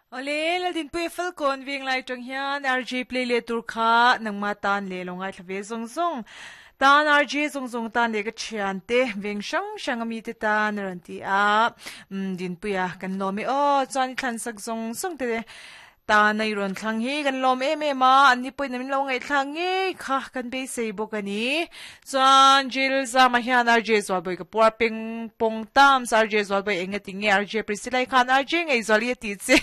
Awle, Laldinpuia Falkawn Venglai atang hian RJ play leh tur kha nangma tan leh lo ngaithla ve zawng zawng tan RJ zawng zawng tan leh ka thian te veng hrang hrang ami te tan a rawn ti a, umm Dinpuia kan lawm e aw chuan i thlan sak zawng zawng te Tana i rawn thlang hi kan lawm em em a, an ni pawhin min lo ngaihthlak ngei kha kan beisei bawk a ni. Chuan Jill Zama hian RJ Zualbawi ka puar peng pawng tam sa RJ Zualbawi eng nge ti nge RJ Priscilla i khan RJ Ngaihzuali a tih che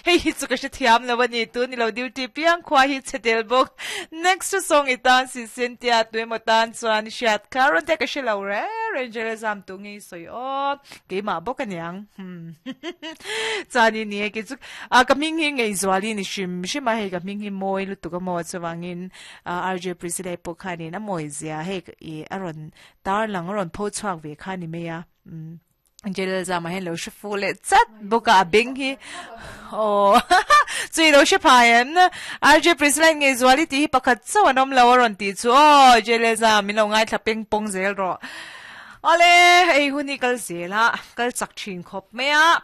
hei hi chu ka hrethiam lo a ni tun i lo duty piang khua hi chhe tel bawk next chu song i tan si sin tia tuemaw tan chuan i hriat kha rawn te ka hre lo reng reng Jill Zam tu nge i sawi aw keimah bawk a niang hmm chuan i ni e kei chu A ka hming hi Ngaihzuali ni hrim hrim a, hei ka hming hi mawi lutuk a maw chuvangin RJ Priscilla pawh khanin a mawi zia hei i a rawn tarlang a rawn pho chhuak ve kha ni mai a umm Jelal zama hian lo hre fuh leh chat bawk a a beng hi aw chui lo hre phai em RJ Priscilla in Ngaihzuali tih hi pakhat chauh an awm lo a rawn tih chu aw Jelal zama min lo ngaithla peng pawng zel rawh. Awle, hei hun hi kal zel a, kal chak thin khawp mai a.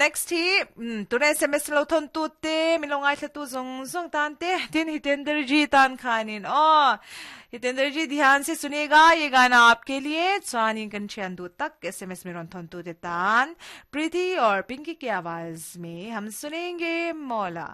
Next hi, umm tuna sms lo thawn tu te, min lo ngaithla tu zawng zawng tan te, tin Hitender ji tan khanin aw. Hitender ji dhyan se sunega ye gana aapke liye chuanin kan thian duh tak sms min rawn thawn tu te tan Preeti aur Pinky ki awaaz mein hum sunenge Maula.